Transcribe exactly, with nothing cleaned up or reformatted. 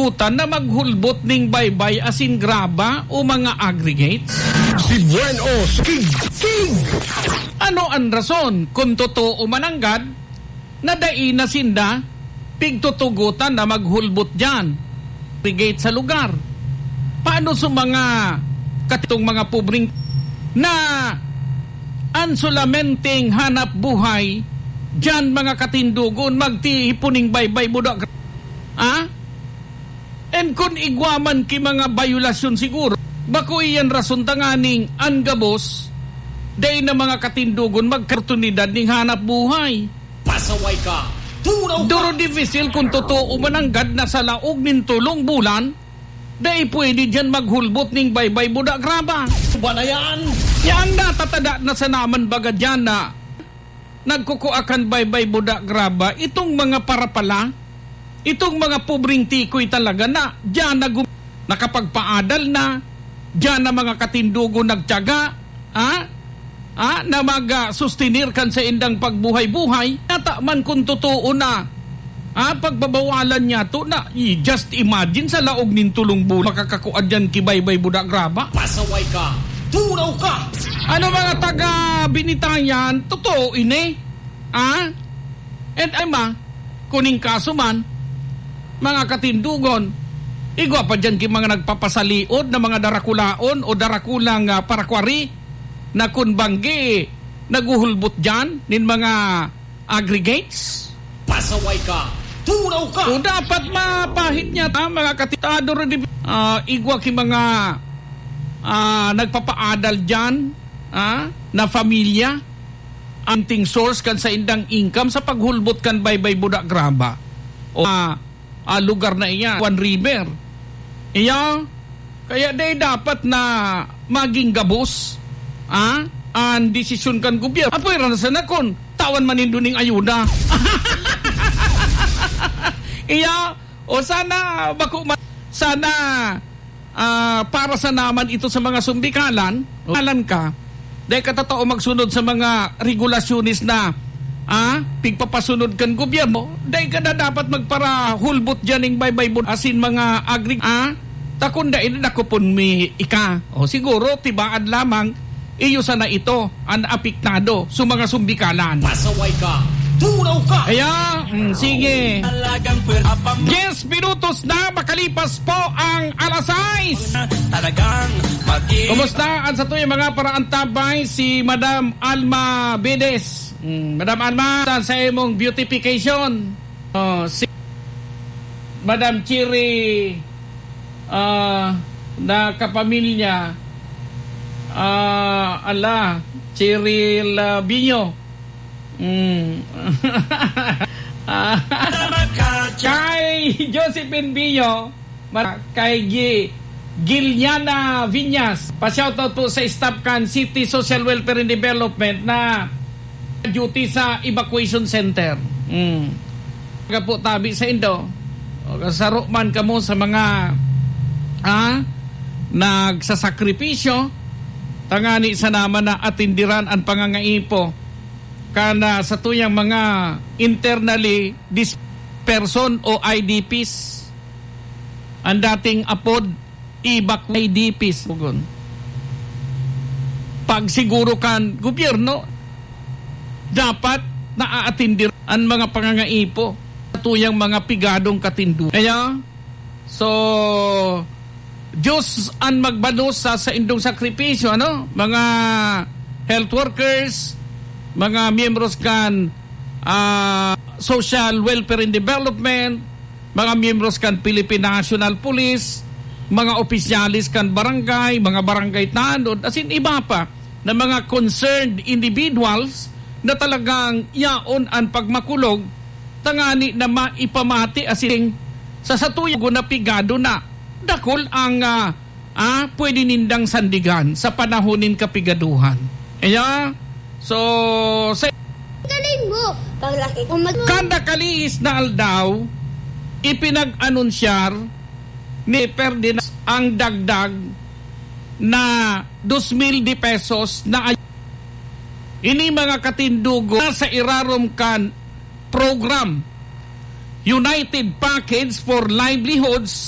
utan na maghulbot ning baybay asin graba o mga aggregates? Si Buen Os, King, King! Ano an rason kun totoo mananggad na dai na sinda pigtutugotan na maghulbot diyan, aggregate sa lugar? Paano sa mga katitong mga pobreng na an solamenteng hanap buhay diyan, mga katindogon, magtihipon ning baybay budak? Ah? And kun igwa man ki mga bayolasyon siguro, bako iyan rason tanganing an gabos, dai na mga katindogon magkartunidad ning hanap buhay. Pasaway ka! Turaw ka! Duro dipisil kun totoo mananggad na sa laog nin tolong bulan, dai pwede diyan maghulbot ning baybay budak graba. Ba na yan? Yan na, tatada na sa naman baga diyan na nagkukua kan baybay budak graba, itong mga parapala, itong mga pobreng tikoy talaga na diyan na gum-, nakapagpaadal na, diyan na mga katindogon nagtiyaga, ha? Ha? Na mag, ah, sustenir kan saindang pagbuhay-buhay. Nata man kung totoo na, ha? Pagbabawalan niya to na, i-, just imagine sa laog nin tulong bulan, makakakua diyan ki baybay budak graba. Pasaway ka! Turaw ka! Ano, mga taga Binitayan, totoo ini? Ah? And ay ma, kuning kaso man, mga katindogon, igwa pa diyan ki mga nagpapasaliod na mga darakulaon o darakulang, ah, parakwari na kun banggi, naguhulbot diyan nin mga aggregates. Pasaway ka! Turaw ka! So, dapat mapahid niya ta, mga katitado, ah, igwa ki mga, ah, nagpapaadal diyan, ah, na pamilya, anting source kan saindang income sa paghulbot kan baybay budak graba o, ah, ah, lugar na iyan, Juan River. Iya, kaya dai dapat na maging gabos, ah, an desisyon kan gobyerno. Apoy ra na sana kun tawan man nindo ning ayuda. Iya, o sana bako ma-, sana ah, para sa naman ito sa mga sumbikalan, alan ka, dai ka tatao magsunod sa mga regulasyones na, ah, pigpapasunod kan gobyerno, dai ka na dapat magparahulbot diyan ning baybay bud-, asin mga agri-, ah, ta kun dai, dakopon mi ika. O, siguro, tibaad lamang, iyo sana ito an apektado sa mga sumbikalan. Pasaway ka! Turaw ka! Kaya, mm, sige. Talagang pwer-, apam- Yes, minutos na makalipas po ang alas sais. Talagang pag-i- Kumusta ang satuyang mga paraantabay, si Madam Alma Bedes? Mm, Madam Alma, sa imong beautification. Oh, si Madam Cherry, ah, na kapamilya, ah, ala, Cheryl, ah, Binyo. Mm. Kay Josephine Binyo, mar-, kay Gi-, Giliana Viñas. Pa-shoutout po sa staff kan City Social Welfare and Development na duty sa evacuation center. Mm. Kaya po tabi sa indo, o, saro man kamo sa mga, ah, nagsasakripisyo, tangani sa naman na atindiran ang pangangaipo kan, ah, satuyang mga internally displaced person o I D Ps. Ang dating apod, evac-, I D Ps, pugon. Pagsiguro kan gobyerno, dapat naaatindir ang mga pangangaipo sa tuyang mga pigadong katindo. Kaya, so, Diyos ang magbalos sa saindong sakripisyo, ano? Mga health workers, mga miyembros kan, ah, Social Welfare and Development, mga miyembros kan Philippine National Police, mga opisyales kan barangay, mga barangay tanod, asin iba pa na mga concerned individuals na talagang yaon an pagmakulog tangani na maipamati asin sa satuya na pigado na dakul ang, ah, ah, pwede nindang sandigan sa panahon nin kapigaduhan. Kaya, so, sa Galing mo! Paglaki ko mag- Kada kalihis na aldaw, ipinag-anunsyar ni Ferdinand ang dagdag na dos mil de pesos na ay-, ini mga katindugo na sa irarom kan program United Package for Livelihoods